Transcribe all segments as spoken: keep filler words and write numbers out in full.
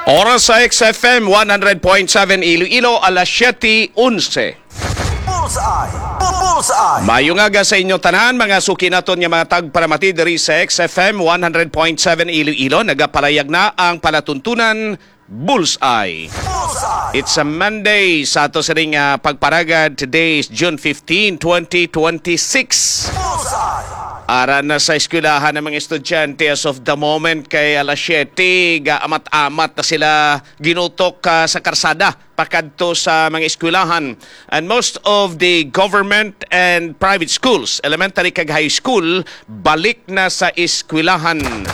Oras sa X F M one hundred point seven Iloilo, alas siyete onse. Bullseye! Bu- Bullseye! Maayong aga sa inyo tanan, mga suki naton nga mga tagparamati diri sa X F M one hundred point seven Iloilo. Nagapalayag na ang palatuntunan Bullseye. Bullseye! It's a Monday sa ato sining, ah, pagparagad. Today is June fifteen, twenty twenty-six. Bullseye! Ara na sa eskwelahan ang mga estudyante as of the moment, kay alas siyete, gaamat-amat na sila ginutok, ah, sa karsada pakadto sa mga eskwelahan. And most of the government and private schools, elementary kag high school, balik na sa eskwelahan.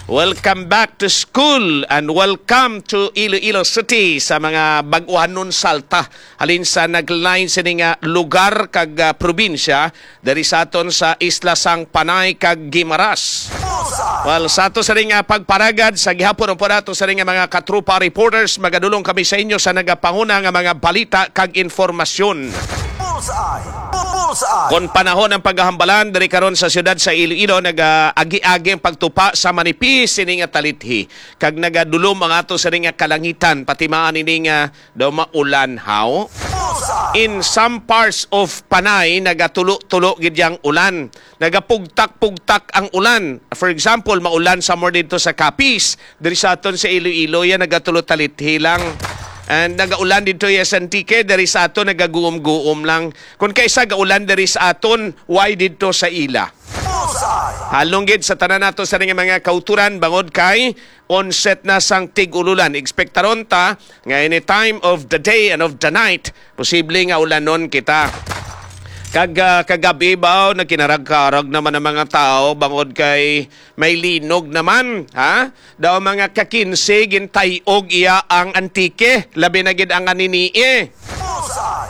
Welcome back to school and welcome to Iloilo City sa mga bag-ohanon salta halin sa naglain sini nga lugar kag, ah, probinsya diri sa aton sa isla sang Panay kag Guimaras. Well, sa ato sa ring, ah, pagparagad sa gihapon, ang po nato sa ring, ah, mga katrupa reporters, magadulong kami sa inyo sa nagapanguna nga mga balita kag informasyon. Bullseye! Bu- Bullseye! Kon panahon ang paghahambalan diri karon sa siyudad sa Iloilo, nagaagi-agi ang pagtupa sa manipis sini nga talithi, kag nagadulom ang ato sa ring, ah, kalangitan, pati maan ini nga daw maulan, haw? In some parts of Panay, nagatulo-tulo gid yang ulan. Nagapugtak-pugtak ang ulan. For example, maulan somewhere dito sa Capiz, diri sa aton sa Iloilo, yan nagatulo talithi lang. And nagaulan dito ya sa Antique, diri sa aton nagaguom-guom lang. Kung kaisa gaulan diri sa aton, why dito sa ila? Halong gid sa tanan nato sa ning mga kauturan, bangod kay onset na sang tig-ululan. Ekspektaron ta nga any time of the day and of the night, posible nga ulanon kita. Kag, ah, kagabi ba, nagkinarag-karag naman ang mga tao bangod kay may linog naman, ha? Daw mga ka-kinse gintay-og iya ang Antique, labi na gid ang Anini-e.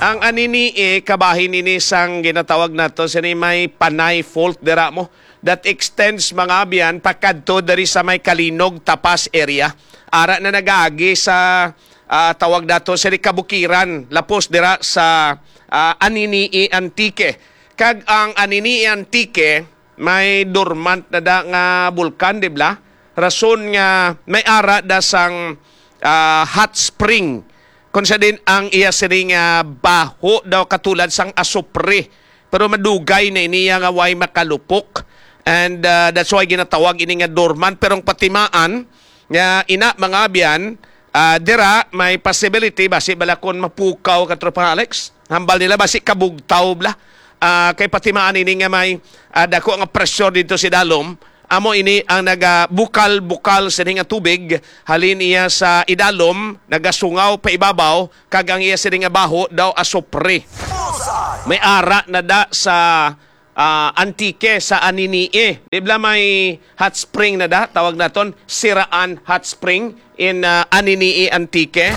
Ang Anini-e, kabahin ini sang ginatawag nato sini may Panay Fault dira mo, that extends, mga abyan, pakadto diri sa may Calinog, Tapas area. Ara na nagaagi sa, ah, tawag nato sini kabukiran, lapos dira sa, ah, Anini-e, Antique. Kag ang Anini-e, Antique, may dormant na da nga bulkan, di bala? Rason nga may ara da sang, ah, hot spring, kung sa din ang iya sining, ah, baho daw katulad sang asupre. Pero madugay na ini nga way makalupok. And, ah, that's why ginatawag ini nga dormant. Pero ang patimaan nga ina, mga abyan, ah, dira may possibility, basi bala kon mapukaw ka, Tropa Alex. Hambal nila, basi kabugtaw bala. Ah, kay patimaan ini nga may, ah, dako nga pressure dito sa idalom. Amo ini ang nagabukal-bukal sini nga tubig halin iya sa idalom, nagasungaw pa ibabaw, kag ang iya sini nga baho daw asupre. May ara na da sa, ah, Antique, sa Anini-e. Di bala may hot spring na da, tawag naton Siraan Hot Spring in, ah, Anini-e, Antique.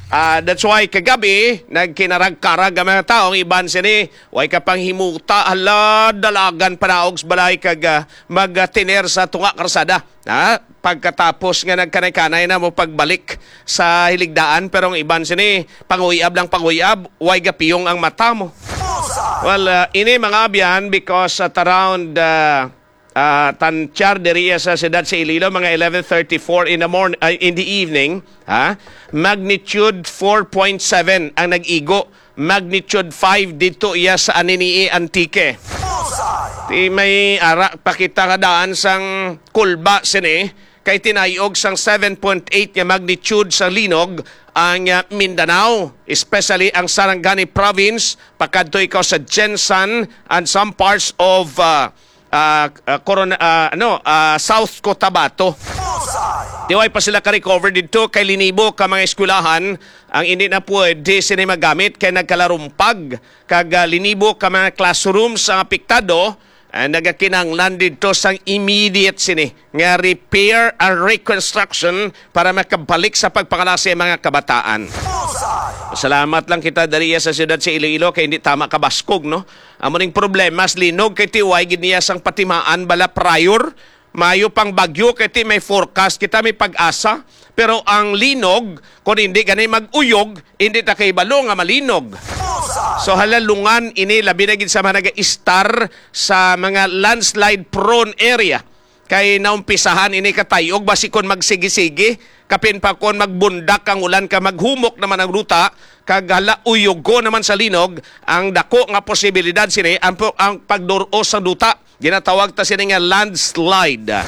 Ah, that's why kagabi, nagkinarag-karag ang mga tao. Ang iban sini, way ka pang himuta, hala, dalagan panaog sa balay kag, ah, magtiner sa tunga karsada. Ha? Pagkatapos nga nagkanay-kanay na mo pagbalik sa hiligdaan, pero ang iban sini, panguyab lang panguyab, way gapiyong ang mata mo. Well, ah, ini, mga abyan, because at around, ah, ah, tantyar diri sa siyudad sa Iloilo, mga eleven thirty-four in the morn-, ah, in the evening, ha? Magnitude four point seven ang nag-igo. Magnitude five dito iya sa Anini-e, Antique. Di may ara pa kita nga daan sang kulba sini, kay tinayog sang seven point eight nga magnitude sa linog ang, ah, Mindanao, especially ang Sarangani Province, pakadto ikaw sa Gensan and some parts of, ah, ah, ah, Corona, ah, ano, ah, South Cotabato. Di way pa sila ka-recover didto kay linibo ka mga eskwelahan ang hindi na pwede sini magamit kay nagkalarumpag kag, ah, linibo ka mga classrooms ang apektado. Ah, nagakinahanglan didto sang immediate sini nga repair and reconstruction para makabalik sa pagpangalasi ang mga kabataan. Salamat lang kita diri sa siyudad sa Iloilo kay hindi tama kabaskog, no? Amo ning problema sa linog kay tiway gid niya sang patimaan bala prior. Mayo pang bagyo kay ti may forecast kita, may pag-asa. Pero ang linog, kung hindi gani mag-uyog, hindi ta kahibalo nga malinog. So, halalungan ini, labi na gid sa mga nag-istar sa mga landslide prone area. Kay naumpisahan ini katayog, basi kon magsigi-sigi, kapin pa kon magbundak ang ulan ka maghumok naman ang duta, kag hala, uyugo naman sa linog, ang dako nga posibilidad sini ang, ang pagdur-os sang duta. Ginatawag ta sini nga landslide.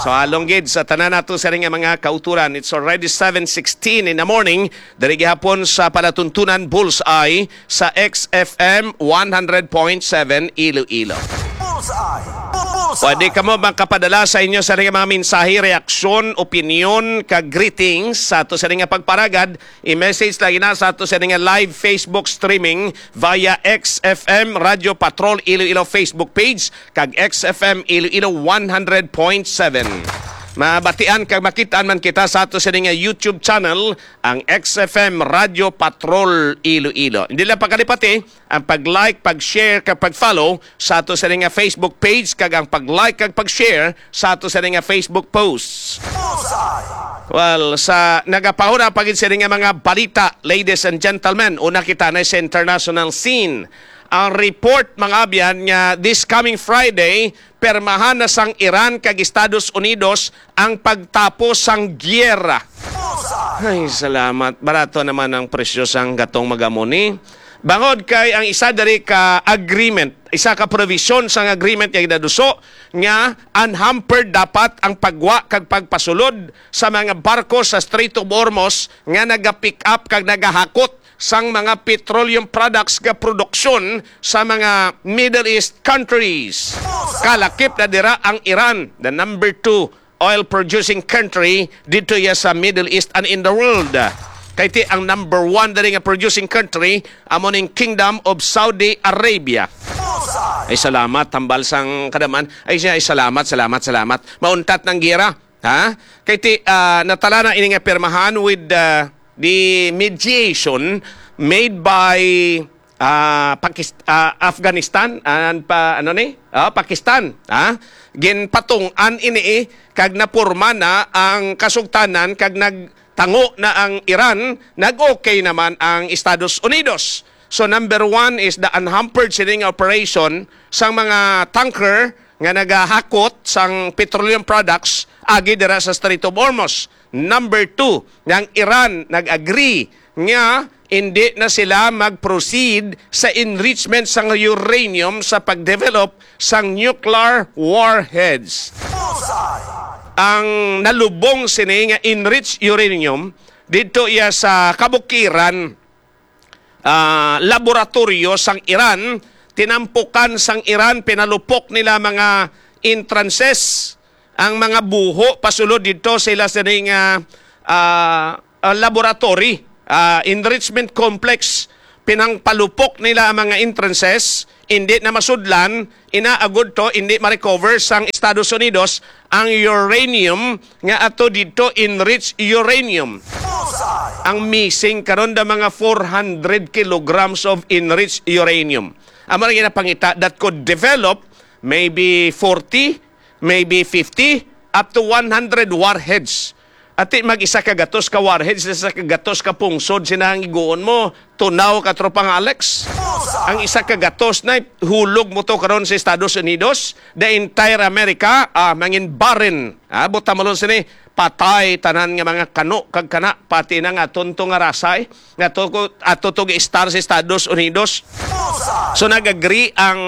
So, halong gid sa tanan nato sini nga mga kauturan. It's already seven sixteen in the morning. Diri gihapon sa palatuntunan, Bullseye sa X F M one hundred point seven Iloilo. Bullseye! Bu-, Bullseye! Pwede kamo makapadala sa inyo sa mga mensahe, reaksyon, opinyon, kag greetings sa ato sa nga pagparagad. I-message lang ina sa ato sa nga live Facebook streaming via X F M Radyo Patrol Iloilo Facebook page kag X F M Iloilo one hundred point seven. Mabatian kag makitaan man kita sa ato sa nga YouTube channel, ang X F M Radyo Patrol Iloilo. Hindi lang pagkalipati ang pag-like, pag-share, kag pag-follow sa ato sa nga Facebook page, kag ang pag-like kag pag-share sa ato sa nga Facebook posts. Bullseye! Well, sa nagapahuna pa gid sini nga mga balita, ladies and gentlemen, una kita na sa international scene. Ang report, mga abyan, nga this coming Friday, permahan na sang Iran kag Estados Unidos ang pagtapos sang giyera. Ay, salamat. Barato naman ang presyo sang gatong magamoni. Bangod kay ang isa diri ka agreement, isa ka provision sang agreement nga ginaduso nga unhampered dapat ang pagwa kag pagpasulod sa mga barko sa Strait of Hormuz nga naga-pick up kag nagahakot sang mga petroleum products nga produksyon sa mga Middle East countries. Kalakip na dira ang Iran, the number two oil producing country dito ya sa Middle East and in the world. Kay ti ang number one diri nga producing country amo ning Kingdom of Saudi Arabia. Ay, salamat, tambal sang kadaman. Ay, siya, ay, salamat, salamat, salamat. Mauntat ng giyera, ha? Kay ti, ah, natala na ini nga pirmahan with, ah, the mediation made by, ah, Pakis-, ah, Afghanistan and pa, ano ni? Ah, Pakistan, ha? Ginpatung-an ini, eh, kag napurma na ang kasugtanan kag nagtango na ang Iran, nag-okay naman ang Estados Unidos. So, number one is the unhampered sining operation sang mga tanker nga nagahakot sang petroleum products agi dira sa Strait of Hormuz. Number two, nga ang Iran nag-agree nga hindi na sila mag-proceed sa enrichment sang uranium sa pag-develop sang nuclear warheads. Ang nalubong sini nga enriched uranium didto iya sa kabukiran, ah, laboratoryo sang Iran, tinampukan sang Iran, pinalupok nila mga entrances, ang mga buho pasulod didto sa ila sining, ah, ah, ah, laboratory, ah, enrichment complex. Pinangpalupok nila ang mga entrances, hindi na masudlan, inaagod to, hindi ma-recover sang Estados Unidos ang uranium nga ato didto, enriched uranium. Ang missing karon da mga four hundred kilograms of enriched uranium. Amo na ginapangita that could develop maybe forty, maybe fifty, up to one hundred warheads. Ati mag isa ka gatos ka warheads, isa ka gatos ka pungsod, sina ang iguon mo, tunaw ka, Tropang Alex. Ang isa ka gatos na hulog mo to karon sa Estados Unidos, the entire America, ah, mangin barren. Ah, buta mo lang sini, patay tanan nga mga kano kag kana, pati na nga aton to nga rasay, nga to, ato to gi-star sa Estados Unidos. So nag-agree ang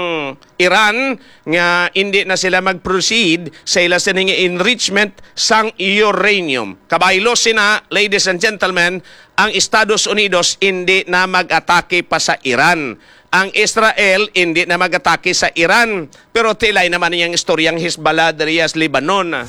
Iran nga hindi na sila mag-proceed sa ila sining enrichment sang uranium. Kabaylo sina, ladies and gentlemen, ang Estados Unidos hindi na mag-atake pa sa Iran. Ang Israel hindi na mag-atake sa Iran. Pero tilay naman niyang istoryang Hezbollah diri sa Lebanon.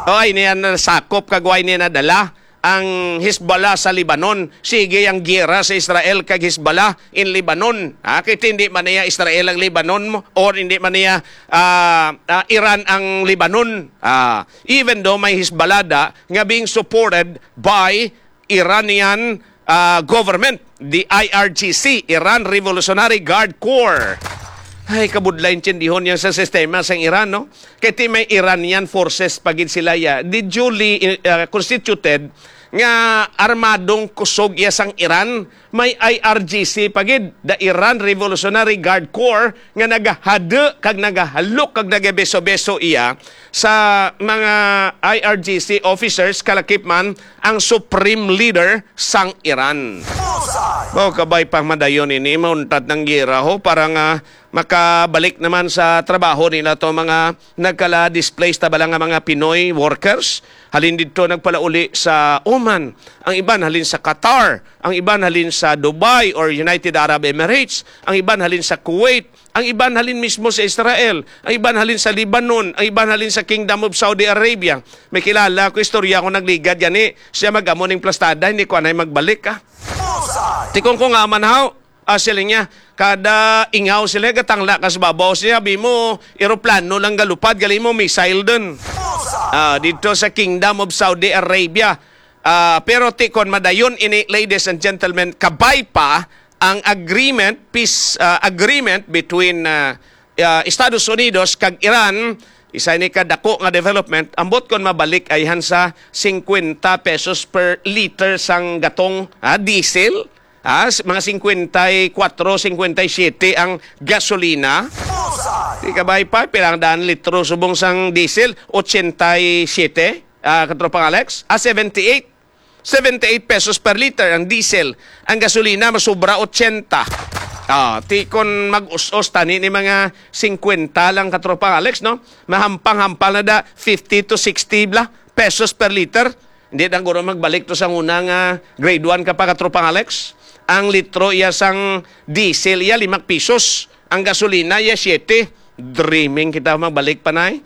Oy, niya nasakop kag way niya nadala ang Hezbollah sa Lebanon. Sige ang giyera sa Israel kag Hezbollah in Lebanon. Ha? Kay hindi man niya Israel ang Lebanon mo, or hindi man niya, ah, ah, Iran ang Lebanon. Ah, even though may Hezbollah da, nga being supported by Iranian, ah, government, the I R G C, Iran Revolutionary Guard Corps. Ay, kabudlay intindihon yan sa sistema sang Iran, no? Kay ti may Iranian forces pa gid sila ya. Di duly, uh, constituted nga armadong kusog iya sang Iran, may I R G C pa gid, the Iran Revolutionary Guard Corps, nga nagahado kag nagahalok kag nagabeso-beso iya sa mga I R G C officers, kalakip man ang supreme leader sang Iran. Mao kabay pang madayon ini, mauntad ng giyera ho, para nga makabalik naman sa trabaho nila to mga nagkala-displaced ta bala nga mga Pinoy workers. Halin didto nagpalauli sa Oman, ang iban halin sa Qatar, ang iban halin sa Dubai or United Arab Emirates, ang iban halin sa Kuwait, ang iban halin mismo sa Israel, ang iban halin sa Lebanon, ang iban halin sa Kingdom of Saudi Arabia. May kilala ko, istorya ko, nagligad gani. Siya mag-amo ning plastada, hindi ko anay magbalik, ah. Tikong ko nga man, haw, ah, siling niya, kada ingaw sila, gatangla ka sa babaw siya, bi mo, eroplano lang galupad, gali mo, missile dun. Ah, dito sa Kingdom of Saudi Arabia. Ah, pero tikon madayon ini, ladies and gentlemen, kabay pa ang agreement, peace, ah, agreement between, ah, ah, Estados Unidos kag Iran. Isa ini ka dako nga development, ambot kon mabalik ayhan sa fifty pesos per liter sang gatong, ah, diesel. Ah, s-, mga fifty-four, fifty-seven ang gasolina. Di ka ba, ipa, pila ang daan litro subong sang diesel? Eighty-seven, ah, Katropang Alex? Ah, seventy-eight. Seventy-eight pesos per liter ang diesel. Ang gasolina, masubra eighty. Ah, ti kon mag-us-os tani ni mga fifty lang, Katropang Alex, no? Mahampang-hampal na da, fifty to sixty bla pesos per liter. Hindi na guro magbalik to sa una nga grade one ka pa, Katropang Alex. Ang litro iya sang diesel iya, lima pesos. Ang gasolina iya, siete. Dreaming kita magbalik pa, nay.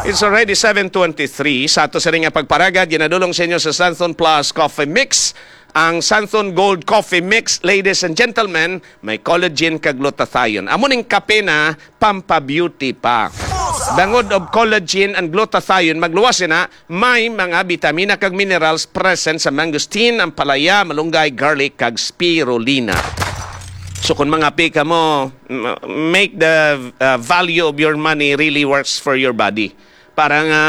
It's already seven twenty-three. Sa ato sini nga pagparagad, ginadulong sa inyo sa Santhon Plus Coffee Mix. Ang Santhon Gold Coffee Mix, ladies and gentlemen, may collagen kag glutathione. Amo ning kape na pampabeauty pa. Bangod of collagen and glutathione, magluwas sina, may mga bitamina kag minerals present sa mangosteen, ampalaya, malunggay, garlic, kag spirulina. So kung mangape ka mo, m-, make the, uh, value of your money really works for your body. Para nga,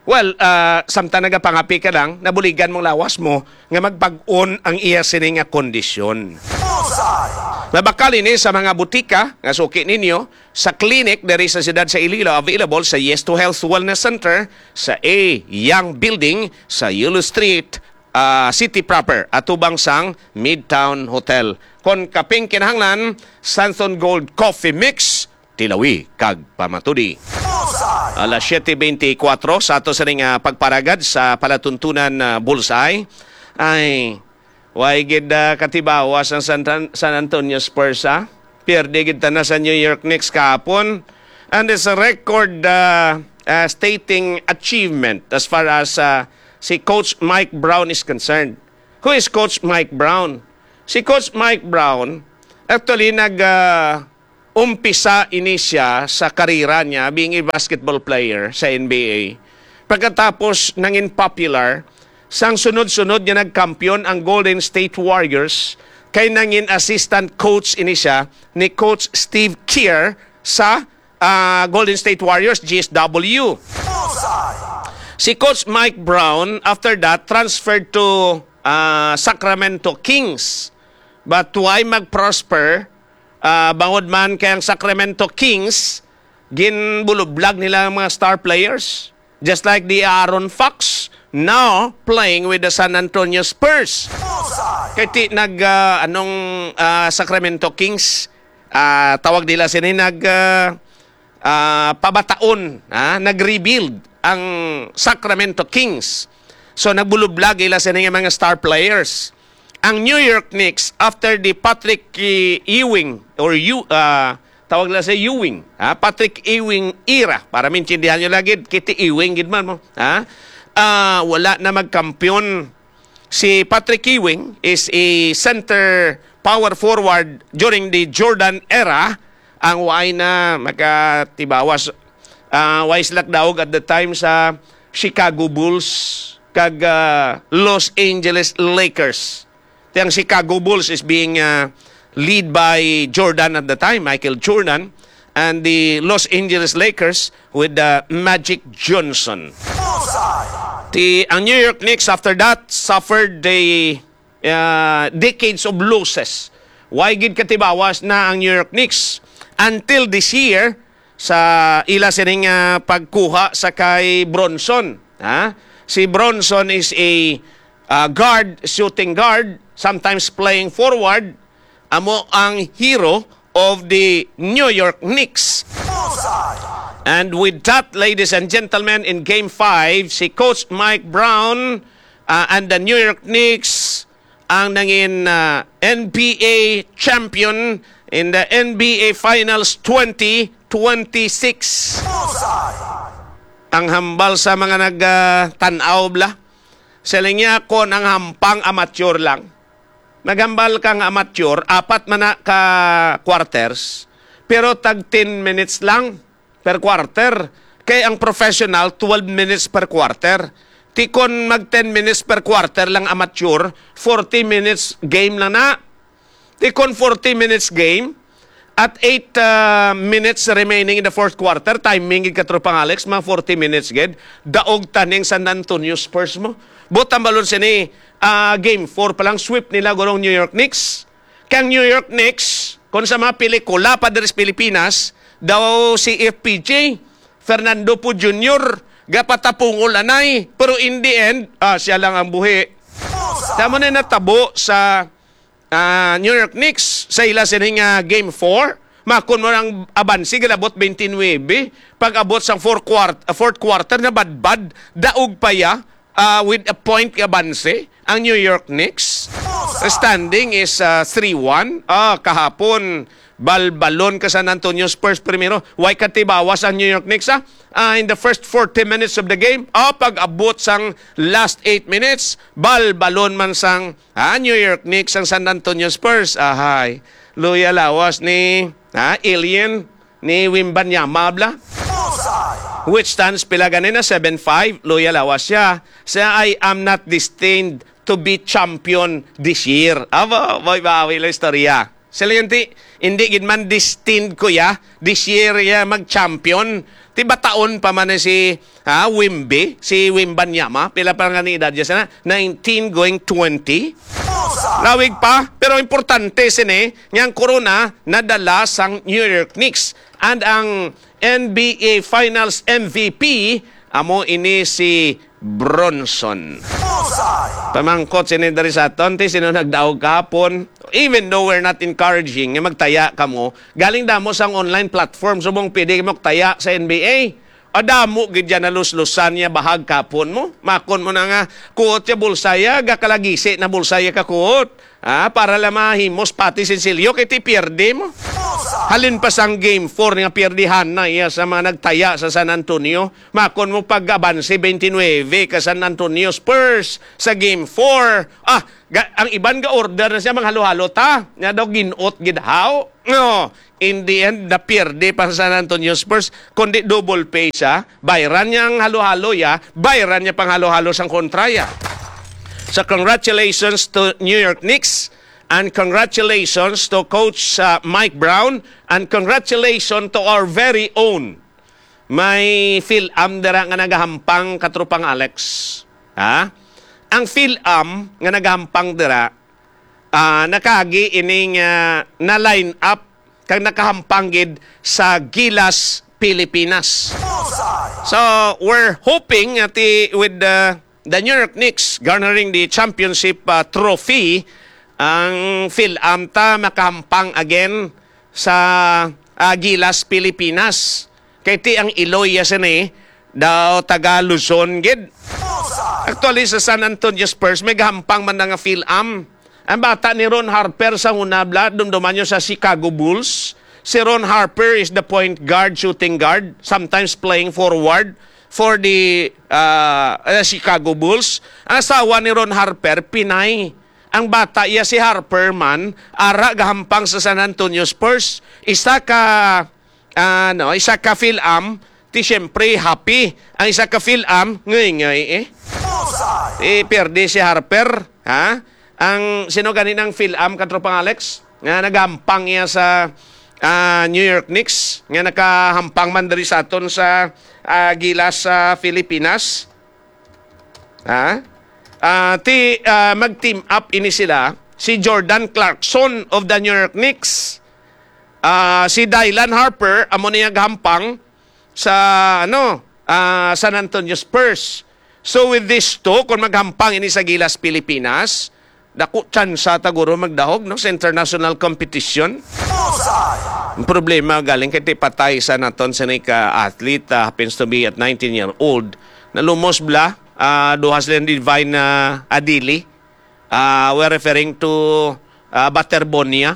well, uh, samtang nagapangape ka lang, nabuligan mong lawas mo nga magpag-on ang iya sini nga kondisyon. Mabakal ini sa mga butika nga suki ninyo, sa clinic diri sa siyudad sa Iloilo, available sa Yes to Health Wellness Center sa A Young Building sa Yulo Street, ah, City Proper, atubang sang Midtown Hotel. Kon kaping kinahanglan, Santhon Gold Coffee Mix, tilawi kag pamatudi. Alas siete veinticuatro sa ato sining, ah, pagparagad sa palatuntunan, ah, Bullseye. Ay, Way gid, ah, katibawas ang San, San Antonio Spurs, ah. Pierde gid tana sa New York Knicks kahapon. And it's a record, ah, ah, stating achievement as far as, ah, si Coach Mike Brown is concerned. Who is Coach Mike Brown? Si Coach Mike Brown, actually, nag, ah, umpisa ini siya sa karera niya being a basketball player sa N B A. Pagkatapos nangin popular, sang sunod-sunod nga nagkampiyon ang Golden State Warriors, kay nangin assistant coach ini siya ni Coach Steve Kerr sa, ah, Golden State Warriors, G S W. Si Coach Mike Brown, after that, transferred to, ah, Sacramento Kings. But why mag-prosper? Ah, bangod man kay ang Sacramento Kings, ginbulublag nila ang mga star players. Just like the Aaron Fox, now playing with the San Antonio Spurs. Kay ti nag, ah, anong, ah, Sacramento Kings, ah, tawag nila sini, nag, ah, ah, pabataon, ah, nag-rebuild ang Sacramento Kings. So, nagbulublag ila sini nga mga star players. Ang New York Knicks, after the Patrick, eh, Ewing, or Ew-, ah, tawag nila sa Ewing, ha? Patrick Ewing era, para maintindihan nyo lagi, kiti Ewing gid man mo, ha? Ah, wala na magkampiyon. Si Patrick Ewing is a center power forward during the Jordan era. Ang waay na makatibawas, ah, waay sila daog at the time sa Chicago Bulls kag, ah, Los Angeles Lakers. Ti ang Chicago Bulls is being, uh, lead by Jordan at the time, Michael Jordan, and the Los Angeles Lakers with, uh, Magic Johnson. Ti, ang New York Knicks, after that, suffered the, uh, decades of losses. Why gid katibawas na ang New York Knicks? Until this year, sa ila sining, ah, pagkuha sa kay Bronson. Ha? Si Bronson is a, ah, guard, shooting guard, sometimes playing forward. Amo ang hero of the New York Knicks. And with that, ladies and gentlemen, in Game five, si Coach Mike Brown, ah, and the New York Knicks ang nangin, ah, N B A champion in the N B A Finals twenty twenty-six. Ang hambal sa mga nag, ah, tan-aw bla, siling niya, kon ang hampang amateur lang. Naghambal kang amateur, apat man na ka quarters, pero tag ten minutes lang per quarter. Kay ang professional, twelve minutes per quarter. Ti kon mag ten minutes per quarter lang amateur, forty minutes game lang na. Ti kon forty minutes game, at eight, ah, minutes remaining in the fourth quarter, timing gid, Katropang Alex, mga forty minutes gid, daog taning San Antonio Spurs mo. But ang balon sini, ah, game four pa lang, sweep nila gurong New York Knicks. Kang New York Knicks, kung sa mga pelikula pa diri sa Pilipinas, daw si F P J, Fernando Poe Junior, gapatapungol anay. Pero in the end, ah, siya lang ang buhi. Tamo na natabo sa, ah, New York Knicks sa ila sining, ah, game four. Makon mo ang abansi, galabot twenty-nine. Pag-abot sang fourth quart-, ah, fourth quarter, nabadbad, daog pa ya, ah, with a point abanse ang New York Knicks. The standing is, ah, three one. Ah, kahapon, balbalon ka San Antonio Spurs primero. Way katibawas ang New York Knicks, ah. Ah, in the first forty minutes of the game, ah, pag-abot sang last eight minutes, balbalon man sang, ah, New York Knicks ang San Antonio Spurs. Ahay, luya lawas ni, ah, Alien, ni Wembanyama bla. Which stands pila gani na seven five, luya lawas siya. Siya, "I am not destined to be champion this year." Aba, bawi-bawi lang istorya. Sila yun ti, hindi gid man destined ko ya, this year ya mag-champion. Ti bataon pa man ni si, ha, Wimby, si Wembanyama. Pila pa nga ni edad niya sana? Nineteen going twenty. Lawig pa, pero importante sini, nga ang corona nadala sang New York Knicks. And ang N B A Finals M V P, amo ini si Bronson. Pamangkot sini diri sa aton, ti sino nagdaog kahapon? Even though we're not encouraging nga magtaya kamo, galing damo sang online platform, subong pwede mo taya sa N B A. O damo gid yan naluslusan niya bahag kapon mo. Makon mo na nga, kuot ya bulsaya, gakalagisi na bulsaya ka kuot. Ah, para lang mahimos pati sinsilyo kay ti pierde mo. Halin pa sang game four nga pierdihan na iya sa mga nagtaya sa San Antonio. Makon mo pag-abanse twenty-nine ka San Antonio Spurs sa game four. Ah, ga-, ang iban ga-order na siya, manghalo-halo ta. Nga daw ginot gid haw. No, in the end, napierde pa sa San Antonio Spurs, kundi double pay siya. Bayran niya ang halo-halo ya, bayran niya pang halo-halo sang kontra ya. So congratulations to New York Knicks, and congratulations to Coach, uh, Mike Brown, and congratulations to our very own may Phil-Am dira nga nagahampang, Katropang Alex. Ha? Ang Phil-Am nga nagahampang dira, ah, nakaagi ining, ah, na-line up kag nakahampang gid sa Gilas, Pilipinas. So, we're hoping nga ti-, with the, the New York Knicks garnering the championship, ah, trophy, ang Phil-Am ta makahampang again sa, ah, Gilas, Pilipinas. Kay ti ang iloy ya sini, daw taga Luzon gid. Actually, sa San Antonio Spurs, may gahampang man na nga Phil-Am. Ang bata ni Ron Harper sa una, bla, dumduman niyo sa Chicago Bulls. Si Ron Harper is the point guard, shooting guard, sometimes playing forward for the, ah, eh, Chicago Bulls. Ang asawa ni Ron Harper, Pinay. Ang bata iya si Harper man, ara gahampang sa San Antonio Spurs. Isa ka, ano, isa ka Phil-Am, ti siyempre happy. Ang isa ka Phil-Am, ngay-ngay eh. Eh, pierde si Harper, ha? Ang sino gani ng Phil-Am, Katropang Alex? Nga nagahampang iya sa, ah, New York Knicks, nga nakahampang man diri sa aton sa, ah, Gilas sa Pilipinas. Ha? Ah, ti, ah, mag-team up ini sila, si Jordan Clarkson of the New York Knicks, ah, si Dylan Harper, amo niya gahampang sa, ano, ah, San Antonio Spurs. So with these two, kung maghampang ini sa Gilas Pilipinas, dako tsansa ta guro magdahog, no, sa international competition. Bullseye! Ang problema galing kay ti patay sa naton sa ka athlete, ah, happens to be at nineteen year old. Nalumos bla, ah, duha sila ni Divine, ah, Adili. Ah, we're referring to, ah, Baterbonia.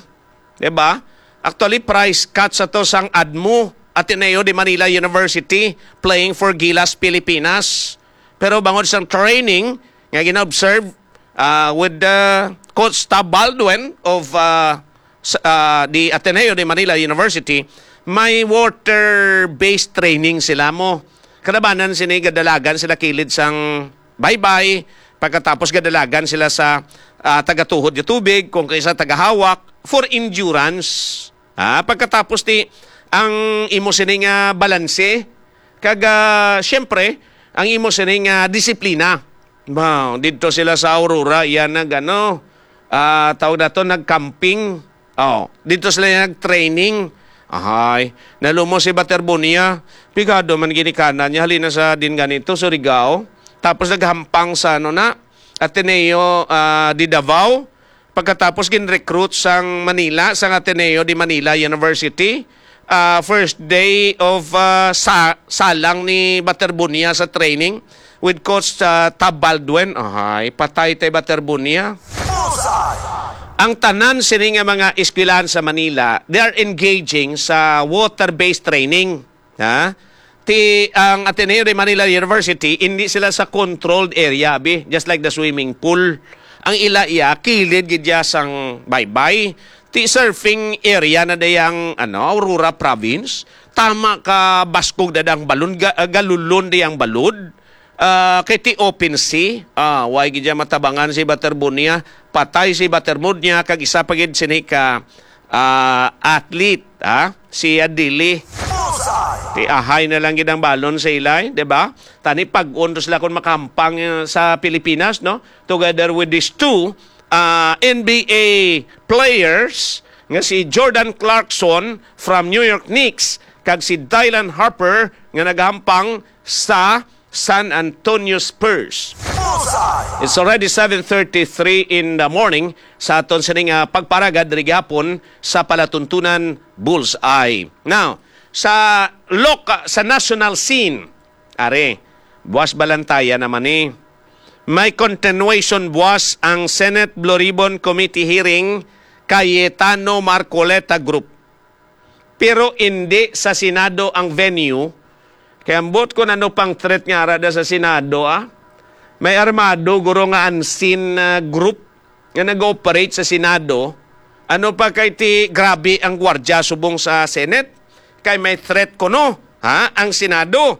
Diba? Actually, prize cut sa to sang ADMU, Ateneo de Manila University, playing for Gilas Pilipinas. Pero bangod sang training nga gina-observe, ah, with the Coach Tab Baldwin of, ah, s- ah, the Ateneo de Manila University, may water-based training sila mo. Kalabanan sini, gadalagan sila kilid sang baybay, pagkatapos gadalagan sila sa, ah, tagatuhod nga tubig, kung kay sa tagahawak, for endurance. Ah, pagkatapos ti ang imo sini nga balanse, kag, ah, siyempre, ang imo sini nga disiplina. Wow, didto sila sa Aurora, yan nag, ano, ah, tawag nato, nag-camping. Oh, didto sila yan nag-training. Ahay, nalumos si Baterbonia. Pigado man ginikanan niya, halina sa din ganito, Surigao. Tapos naghampang sa, ano na, Ateneo, ah, de Davao. Pagkatapos gin-recruit sang Manila, sang Ateneo de Manila University. Ah, first day of, ah, sa salang ni Baterbonia sa training with Coach, ah, Tab Baldwin. Ahay, patay tay Baterbonia. Bullseye! Ang tanan sini nga mga eskwelahan sa Manila, they are engaging sa water-based training. Ha? Ti ang Ateneo de Manila University, hindi sila sa controlled area, bi, just like the swimming pool. Ang ila iya, kilid gid iya sang baybay. Ti surfing area na dayang, ano, Aurora Province. Tama ka baskog na dang balon, ga, galulon dayang balod. Ah, kay ti open sea, ah, way gid iya matabangan si Baterbonia. Patay si Baterbonia, kag isa pa gid sini ka, ah, athlete, ha? Si Adili. Bullseye! Ti ahay na lang gid ang balon sa ilay, di ba? Tani pag-on to sila kung makahampang, eh, sa Pilipinas, no? Together with these two, ah, N B A players nga si Jordan Clarkson from New York Knicks kag si Dylan Harper nga nagahampang sa San Antonio Spurs. Bullseye! It's already seven thirty-three in the morning sa aton sining, ah, pagparagad diri gihapon sa palatuntunan Bullseye. Now, sa loka-, sa national scene, are, buwas Balantayan naman ni. May continuation buwas ang Senate Blue Ribbon Committee hearing Cayetano Marcoleta Group. Pero indi sa Senado ang venue. Kay ambot ko ano pang threat nga ara da sa Senado, ah. May armado, guro, nga unseen, ah, group nga nag-ooperate sa Senado. Ano pa kay ti grabe ang gwardya subong sa Senate? Kay may threat kuno, ha, ang Senado.